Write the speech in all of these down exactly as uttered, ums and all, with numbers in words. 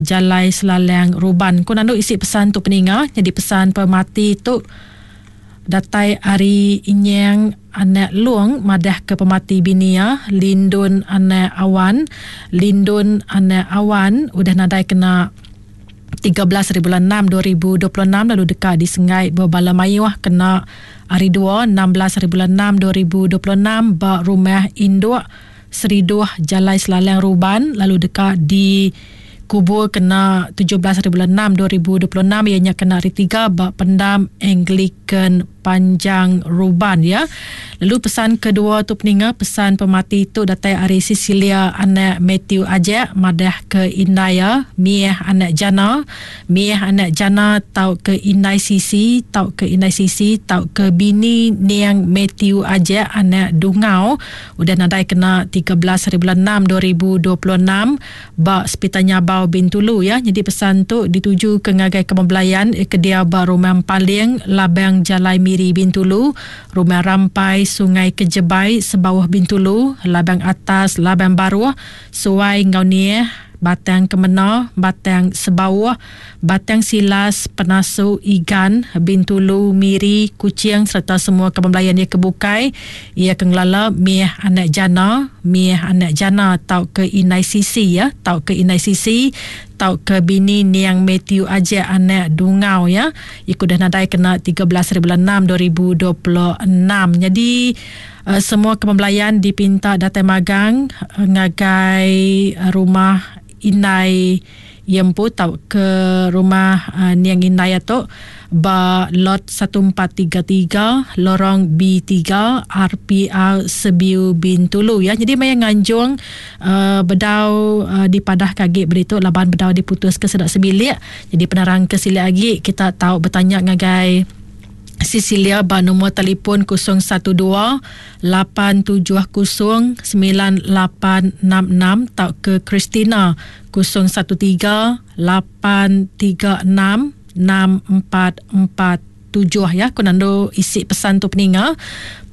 Jalai Selalang Ruban. Ku nandu isi pesan tu peninga, nyadi pesan pemati tu datai ari Inyang anak Long madah ke pemati bini iya Lindun anak Awan. Lindun anak Awan udah nadai kena tiga belas hari bulan enam dua ribu dua puluh enam lalu deka disenggai bebala mayuh kena hari dua enam belas hari bulan enam dua ribu dua puluh enam ba rumah induk Seriduh Jalai Selalang Ruban lalu deka di kubur kena tujuh belas hari bulan enam dua ribu dua puluh enam iya nya kena hari tiga ba pendam Anglican Panjang Ruban ya. Lalu pesan kedua tu peninga, pesan pemati tu datai ari Cecilia anak Matthew Ajak madah ke indai ya Miah anak Jana, Miah anak Jana tau ke indai Sisi, tau ke indai Sisi tau ke bini Niang Matthew Ajak anak Dungau udah nadai kena tiga belas hari bulan enam dua ribu dua puluh enam ba Sepital Nyabau Bintulu ya. Jadi pesan tu dituju ke ngagai kemebelayan ke dia ba Rumah Paling Labang Jalai Miri Bintulu, Rumah Rampai Sungai Kejebai Sebauh Bintulu, Labang Atas Labang Baruh, Suai Ngau Nieh, Batang Kemena, Batang Sebauh, Batang Silas, Penasu, Igan, Bintulu, Miri, Kuching serta semua kemebelayan ia kebukai. Ia ke ngelala Miah anak Jana, Miah anak Jana tau ke Inai Sisi ya, tau ke Inai Sisi, tau ke bini Niang Matthew Ajak anak Dungau ya. Iku dah nadai kena tiga belas hari bulan enam dua ribu dua puluh enam. Jadi uh, semua kemebelayan dipinta datai magang uh, ngagai uh, rumah Inai Yempu tau ke rumah uh, Niang Inai tu ba lot satu empat tiga tiga lorong B tiga R P R Sebiu Bintulu ya. Jadi maya nganjung uh, bedau uh, dipadah kagi beritu laban bedau diputus ke sedak sebilik. Jadi penerang ke silik lagi kita tahu bertanya ngagai Cecilia ba nombor telefon kosong satu dua lapan tujuh kosong sembilan lapan enam enam tau ke Christina kosong satu tiga lapan tiga enam enam empat empat tujuh ya. Ku nandu isi pesan tu peninga.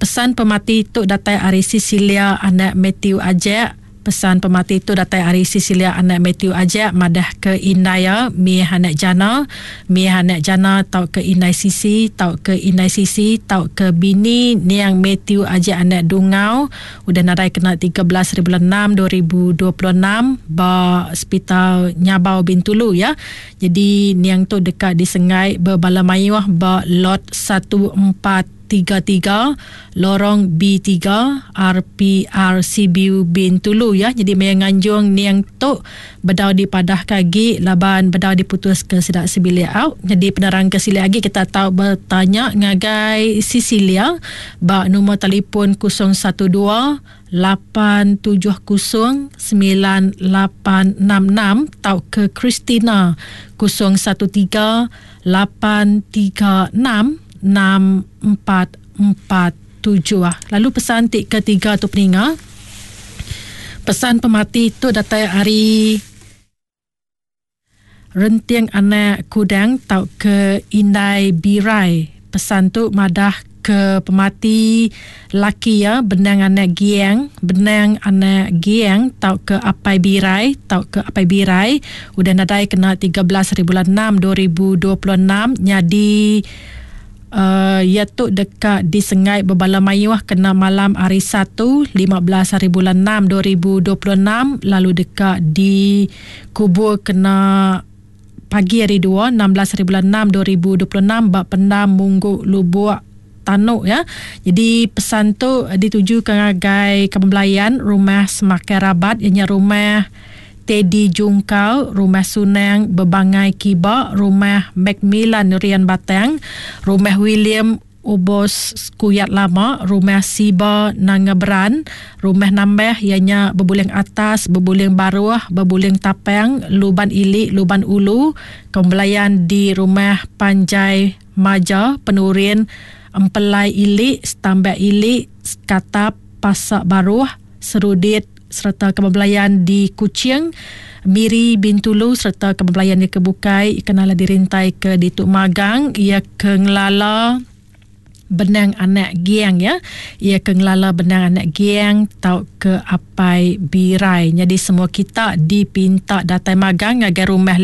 Pesan pemati tu datai ari Cecilia anak Matthew Ajak. Pesan pemati tu datai ari Cecilia anak Matthew Ajak madah ke Indaya Miah anak Jana, Miah anak Jana tau ke Indai Sisi, tau ke Indai Sisi, tau ke bini Niang Matthew Ajak anak Dungau udah nadai kena tiga belas hari bulan enam dua ribu dua puluh enam ba Sepital Nyabau Bintulu ya. Jadi niang tu dekat disengai berbala mayuh ba lot satu empat tiga tiga lorong B tiga R P R C B U Bintulu ya. Jadi maya nganjung niang tu bedau dipadah kagi laban bedau diputus ke sedak sebilik out. Jadi penerang ke silik lagi kita tahu bertanya ngagai Cecilia ba nombor telefon kosong satu dua lapan tujuh kosong sembilan lapan enam enam tau ke Christina kosong satu tiga lapan tiga enam enam empat empat tujuh. Lalu pesan ti ketiga tu peninga. Pesan pemati tu datai ari Renting anak Kudang tau ke Indai Birai. Pesan tu madah ke pemati laki ya benang anak Giang, benang anak Giang tau ke Apai Birai, tau ke Apai Birai udah nadai kena tiga belas hari bulan enam dua ribu dua puluh enam. Nyadi Uh, ia tu dekat disengai berbala mayuh kena malam hari Satu lima belas hari bulan enam dua ribu dua puluh enam lalu dekat dikubur kena pagi hari dua enam belas hari bulan enam dua ribu dua puluh enam ba pendam Munggu Lubuk Tanuk ya. Jadi pesan tu ditujukan ngagai kebelayan rumah Semakai Rabat ianya rumah Teddy Jungkau, Rumah Sunang Bebangai Kiba, Rumah Macmillan Rian Batang, Rumah William Obos Kuyat Lama, Rumah Siba Nangaberan, Rumah Nambah ianya Bebuling Atas, Bebuling Baruah, Bebuling Tapang, Luban Ilik, Luban Ulu, Kembelayan di Rumah Panjai Maja, Penurin, Empelai Ilik, Stambak Ilik, Skatap, Pasak Baruah, Serudit serta kebelayan di Kuching, Miri, Bintulu serta kebelayan di Kebukai kenalah dirintai ke di Tuk Magang. Ia ke ngelala benang anak Giang ya. Ia ke ngelala benang anak Giang tau ke Apai Birai. Jadi semua kita dipinta datai magang ngagai rumah